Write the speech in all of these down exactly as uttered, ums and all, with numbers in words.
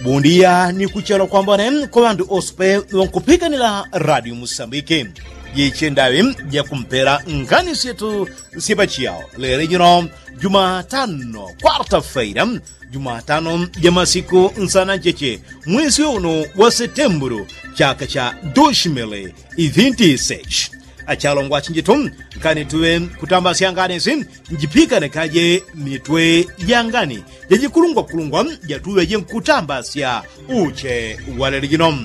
Bundiya ni kuchala kwambone kwa ŵandu ose pe ŵankupikanila radio musambike. Jiche ndaŵi jakumpela ngani syetu sye pachiyao lele jino jumatano kwarta feira, jumatano ja masiku nsana ncheche, mwesi unu wa setembulu, chaka cha doshimili ivinti sechi. Achalongwa chinjitu, nkani tuŵe kutambasya ngani si njipikane kaje mitwe ja ngani jajikulungwakulungwa jatuŵeje nkutambasya uche wa lele jino.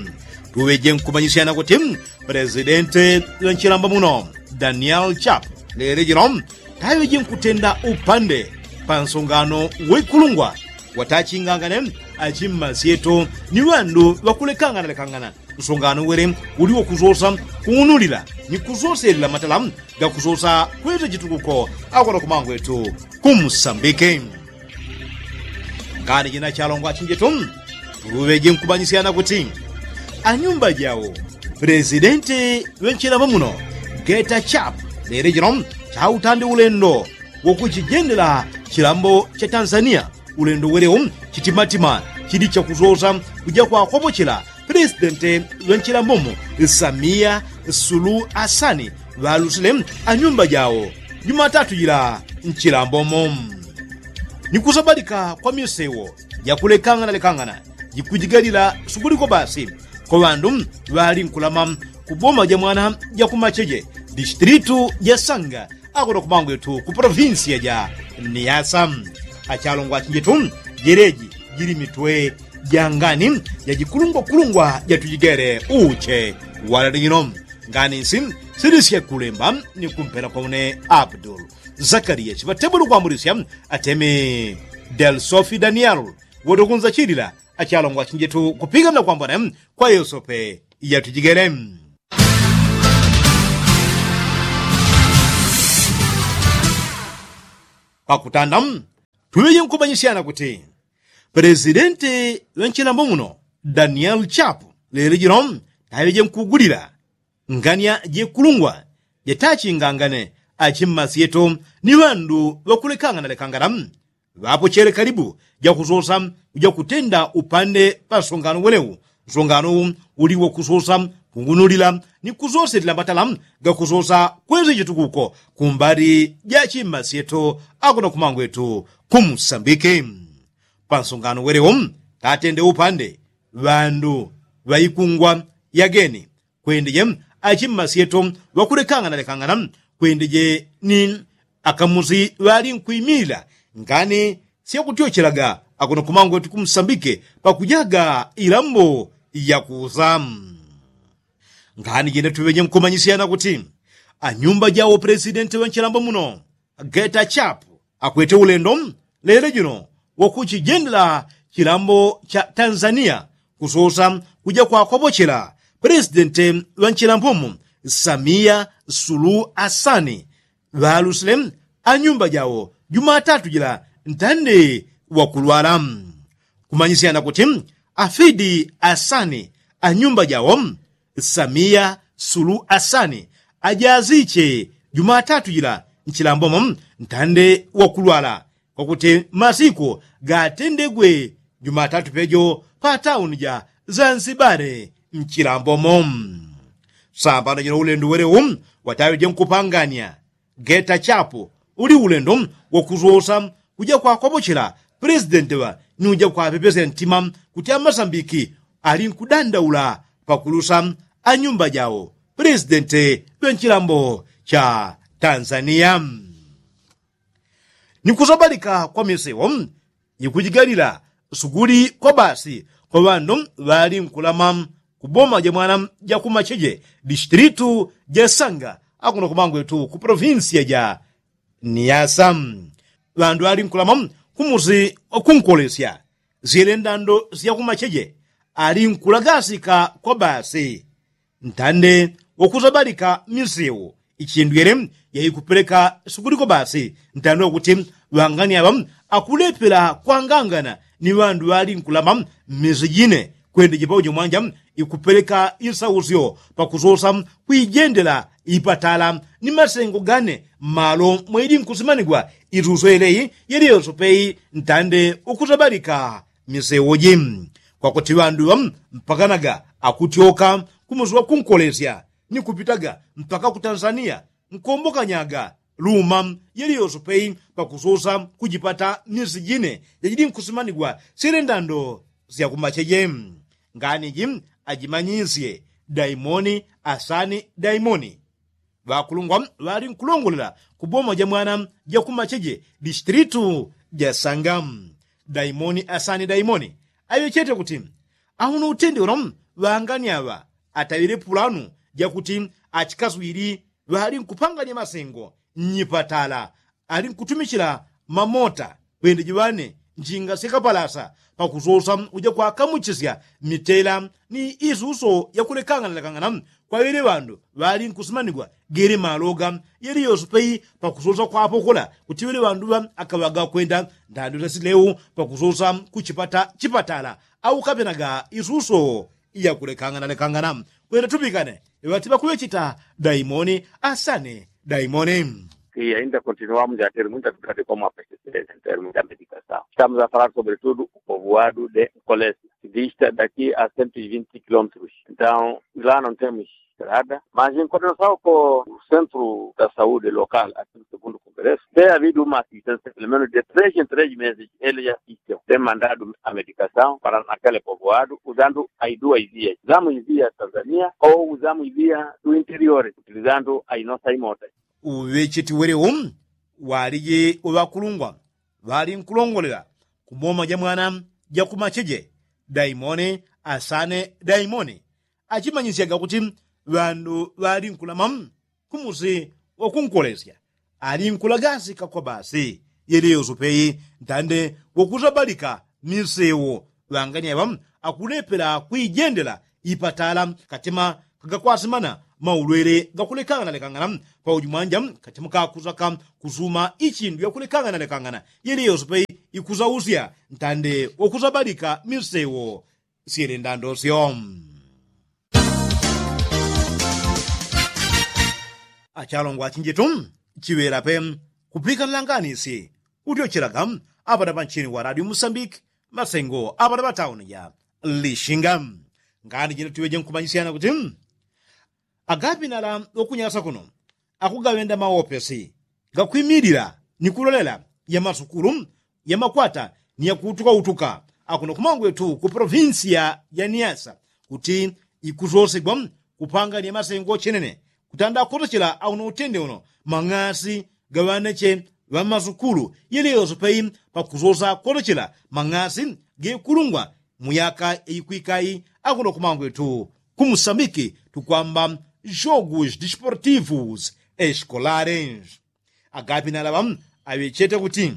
Tuŵeje nkumanyisyana kuti, presidente ŵa nchilambo muno, daniel chap, lele jino taŵeje nkutenda upande pa nsongano wa ikulungwa watachingangane achimmasyetu ni ŵandu ŵakulekanganalekangana. Nsongano wele uli wakusosa kung'unulila ni kusoselela matala gakusosa kweta chitukuko akono kumangwetu kumsambike. Ngani jina chalongwa chinjetu, tuŵeje nkumanyisyana kuti anyumba jawo, presidente ŵa nchilambo muno, geta chap, lele jino chautande ulendo wakuchijendela chilambo cha tanzania. Ulendo welewo chitimatima chili chakusosa kuja kwakopochela presidente ŵa nchilambomo, samia sulu asani, ŵalusile anyumba jawo jumatatu jila nchilambomo. Ni kusabalika kwa misewo jakulekanganalekangana jikujigalila suguliko basi kwa ŵandu ŵali nkulama ku boma ja mwana ja kumacheje, distilitu ja sanga, akono kumangwetu ku polovinsiya ja niasa. Achalongwa chinjetu, jeleji jili mitwe ja ngani jajikulungwakulungwa jatujigele uche wa lele jino. Ngani nsi silisye kulemba ni kumpela kwa une abdul zakariya chiŵatebulu kwambulisya atemi del sofi daniel woto kunzachilila. Achalongwa chinjetu kupiganila kwambone kwa yosope yatujigele. Pakutanda, tuŵeje nkumanyisyana kuti, presidente ŵa nchilambo muno, daniel chap, lele jino taŵeje nkugulila ngania jekulungwa jatachingangane achimmasyetu ni ŵandu ŵakulekanganalekangana. Ŵapochele kalibu jakusosa kuja kutenda upande pa nsongano welewu. Nsongano uwu uli wakusosa kung'unulila ni kusoselela matala gakusosa kwesa chitukuko kumbali ja chimmasyetu akono kumangwetu kumsambike. Pa nsongano welewu tatende upande ŵandu ŵa ikungwa yageni kwendeje achimmasyetu ŵakulekanganalekangana kwendeje ni akamusi ŵali nkwimilila ngani syakutyochelaga akono kumangwetu kumsambike pakujaga ilambo yakusa. Ngani jene tuŵeje nkumanyisyana kuti anyumba jawo presidente ŵa nchilambo muno, geta chap, akwete ulendo lele jino wakuchijendela chilambo cha tanzania kusosa kuja kwakopochela presidente ŵa nchilambomo, samia sulu asani, ŵalusile anyumba jawo jumatatu jila ntande wakulwala. Kumanyisyana kuti afidi asani anyumba jawo, samia sulu asani, ajaziche jumatatu jila nchilambomo ntande wakulwala kwakuti masiku gatendegwe jumatatu pejo pa tauni ja zanzibare nchilambomo. Sambano jino ulendo welewu wataŵeje nkupangania geta chapu uli ulendo wakusosa kuja kwakopochela presidente ŵa ni uja kwapepesya ntima kuti amasambiki ali nkudandaula pakulusa anyumba jawo presidente ŵa nchilambo cha tanzania. Ni kusabalika kwa misewo jikujigalila suguli kwa basi kwa ŵandu ŵali nkulama ku boma ja mwana ja kumacheje distilitu ja sanga akuno kumangwetu ku polovinsiya ja niasa. Ŵandu ŵali nkulama kumusi kunkolesya syele ndando sya kumacheje ali nkulagasika kwa basi ntande wakusabalika misewo ichindwele yaikupeleka sukuliko basi ntande wakuti ŵangani aŵa akulepela kwangangana ni ŵandu ŵali nkulama mmisi jine kwende jipaujo mwanja ikupeleka isausyo pakusosa kwijendela ipatala ni masengo gane mmalo mwaili nkusimanigwa isusyo yeleyi yeliyonso peyi ntande wakusabalika misewo ji. Kwakuti ŵandu ŵa mpakanaga akutyoka kumusi wa kunkolesya ni kupitaga mpaka ku tanzania nkombokanyaga luma yeliyoso pei pakusosa kujipata misi jine jajili nkusimanigwa syele ndando sya kumacheje. Ngani ji ajimanyisye daimoni asani daimoni ŵakulungwa ŵali nkulongolela ku boma ja mwana ja kumacheje distilitu ja sanga. Daimoni asani daimoni aŵechete kuti auno utende uno ŵangani aŵa ataŵile pulanu jakuti achikaswili ŵali nkupanganya masengo nnyipatala ali nkutumichila mamota kwende jiŵane njinga syakapalasa pakusosa uja kwakamuchisya mitela ni isuso yakulekangana lekangana kwaŵele ŵandu ŵali nkusimanigwa gele maloga yeliyoso pei pakusosa kwapokola kuti ŵele ŵandu ŵa akaŵaga kwenda ndando syasileu pakusosa kuchipata chipatala au kapenaga isuso yakulekangana lekangana kwenda tupikane ŵati ŵakuŵechita daimoni asane daimoni. Ainda continuamos a ter muita dificuldade como a pesticidas em termos da medicação. Estamos a falar sobretudo o povoado de Nkolesi, que dista daqui a cento e vinte quilômetros. Então, lá não temos estrada, mas em coordenação com o centro da saúde local aqui no segundo congresso, tem havido uma assistência pelo menos de três em três meses. Eles assistem, tem mandado a medicação para naquele povoado usando as duas vias, usamos via Tanzania ou usamos via do interior utilizando as nossas motas. Uŵecheti welewo waliji uŵakulungwa ŵali nkulongolela ku boma ja mwana ja kumacheje daimoni asane daimoni achimanyisyaga kuti ŵandu ŵali nkulama kumusi wakunkolesya ali nkulagasika kwa basi yeliyoso pei ntande wakusabalika misewo ŵangani aŵa akulepela kuijendela ipatala katima kagakwasimana maulwele gakulekangana lekangana pauji mwanja katima kakusaka kusuma ichindu yakulekangana lekangana yeliyoso pei ikusausya ntande wakusabalika misewo syele ndandosyo. Achalongwa achinjitu chiŵela pe kupikanila nganisi utyochelaga aŵana ŵanchini wa radio musambiki masengo aŵana ŵatauni ja lishinga. Ngani jino tiŵeje nkumanyisyana kuti agapinala ŵakunyasa kuno akugaŵenda maopesi gakwimilila ni kulolela ya masukulu ya makwata ni yakuutuka utuka akuno kumangwetu ku polovinsiya ya niasa kuti ikusosegwa kupangania masengo chenene kutanda kotochela auno utende uno mang'asi gaŵaneche ŵamasukulu yeleyose pei pakusosa kotochela mang'asi gekulungwa mu yaka yaikwika i akuno kumangwetu ku musambiki tukwamba jogus disportivus escolares. Agapinala ŵa aŵechete kuti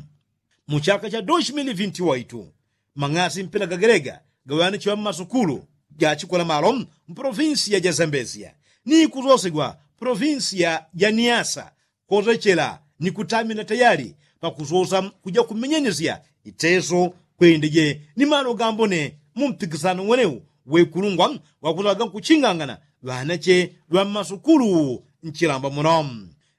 mu chaka cha dos mili vinti waitu mang'asi mpela gagelega gaŵanichiwa mmasukulu gachikola malo mpolovinsiya ja zambezia ni kusosegwa polovinsiya ja niasa kosechela ni kutamina tayali pakusosa kuja kumenyenesya iteso kwendeje ni malo gambone mu mpikisano ng'wenewu wekulungwa wakusaga nkuchingangana ŵanache ŵa mmasukulu nchilamba muno.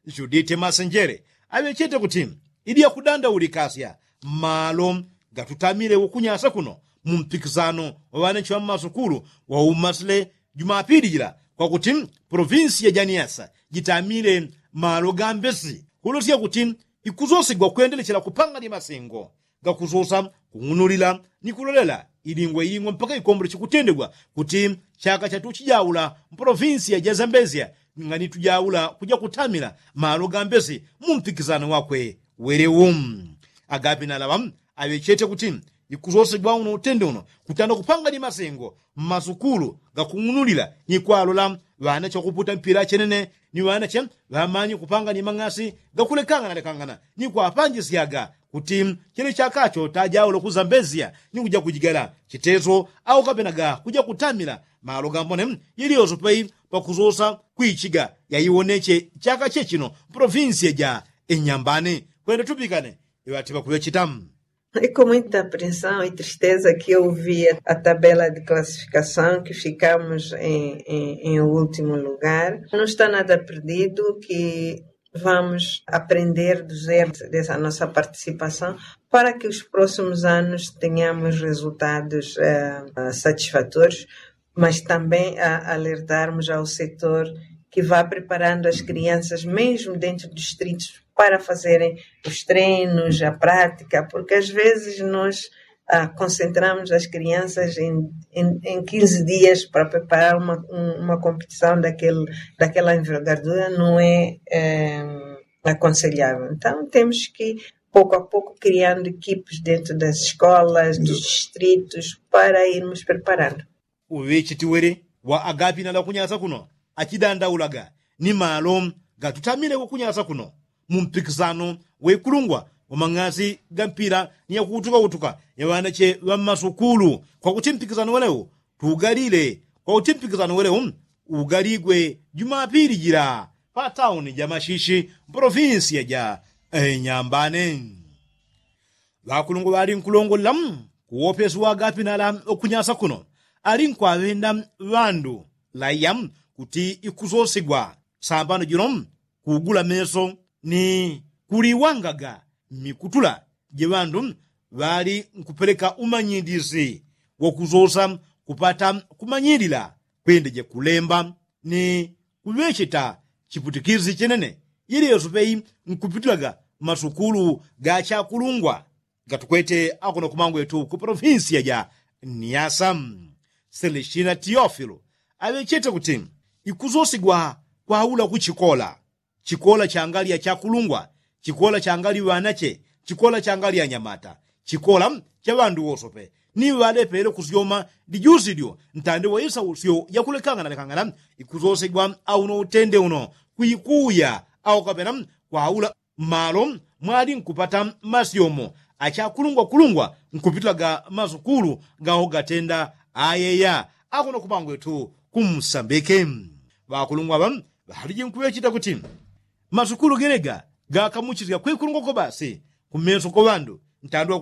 Judite masenjele aŵechete kuti ili yakudandaulikasya malo gatutamile ukunyasa kuno mu mpikisano wa ŵanache ŵa mmasukulu waumasile jumapili jila kwakuti polovinsi ya janiasa jitamile malo gambesi kulosya kuti ikusosigwa kwendelechela kupangania masengo gakusosa kung'unulila ni kulolela ilingwa ilingwa mpaka ikombole chikutendegwa kuti chaka chatuchijaula mpolovinsiya ja zambezia ngani tujaula kuja kutamila malo gambesi mu mpikisano wakwe welewu. Agapinala ŵa aŵechete kuti ikusosegwa uno utende uno kutanda kupangania masengo mmasukulu gakung'unulila ni kwalola ŵanache ŵakuputa mpila chenene ni ŵanache ŵamanye kupangania mang'asi gakulekangana lekangana ni kwapanjisyaga kuti chele chakacho tajaula kuzambezia ni kuja kujigala chiteso au kapenaga kuja kutamila malo gambone yeliyose pei pakusosa kwichiga yaiwoneche chaka chechino mpolovinsiya ja inyambani kwenda tupikane iŵati ŵakuŵecheta. E com muita apreensão e tristeza que eu vi a tabela de classificação que ficamos em, em, em último lugar. Não está nada perdido, que Vamos aprender dos erros dessa nossa participação para que os próximos anos tenhamos resultados satisfatórios, mas também alertarmos ao setor que vá preparando as crianças mesmo dentro dos distritos para fazerem os treinos, a prática, porque às vezes nós concentramos as crianças em quinze dias para preparar uma competição daquela envergadura, não é aconselhável. Então temos que pouco a pouco criando equipes dentro das escolas, dos distritos, para irmos preparando. Uŵechetiwele wa agapinala kunyasa kuno achidandaulaga ni malo gatutamile kukunyasa kuno mu mpikisano wa ikulungwa wa mang'asi ga mpila ni yakuutukautuka ya ŵanache ŵa mmasukulu kwakuti mpikisano welewo tuugalile kwakuti mpikisano welewo uugaligwe jumapili jila pa tauni ja mashishi mpolofinsiya ja nyambane. Ŵakulungwa ŵalinkulongolela kuwopesi wa agapinala wakunyasa kuno alinkuŵaŵenda ŵandu laiya kuti ikusosigwa sambano jino kuugula meso ni kuliwangaga mmikutula je ŵandu ŵali nkupeleka umanyilisi wakusosa kupata kumanyilila kwende jakulemba ni kuŵecheta chiputikisi chenene yeleyoso pei nkupitilaga masukulu ga chakulungwa gatukwete akuno kumangwetu ku polofinsiya ja niasa. Selestina tiofilo aŵechete kuti ikusosigwa kwaula ku chikola chikola changali achakulungwa chikola changali ŵanache chikola changali anyamata chikola cha ŵandu wosope ni ŵalepele kusyoma dijusi dyo ntande wa isausyo yakulekangana lekangana ikusosegwa auno utende uno kwikuya au kapena kwaula mmalo mwali nkupata masyomo achakulungwakulungwa nkupitilaga masukulu gawo gatenda ayeya akuno kumangwetu kumsambike. Ŵakulungwa ŵa ŵaliji nkuŵecheta kuti masukulu gelega gakamuchisya kwikulungwa kobasi kumeso ko ŵandu ntande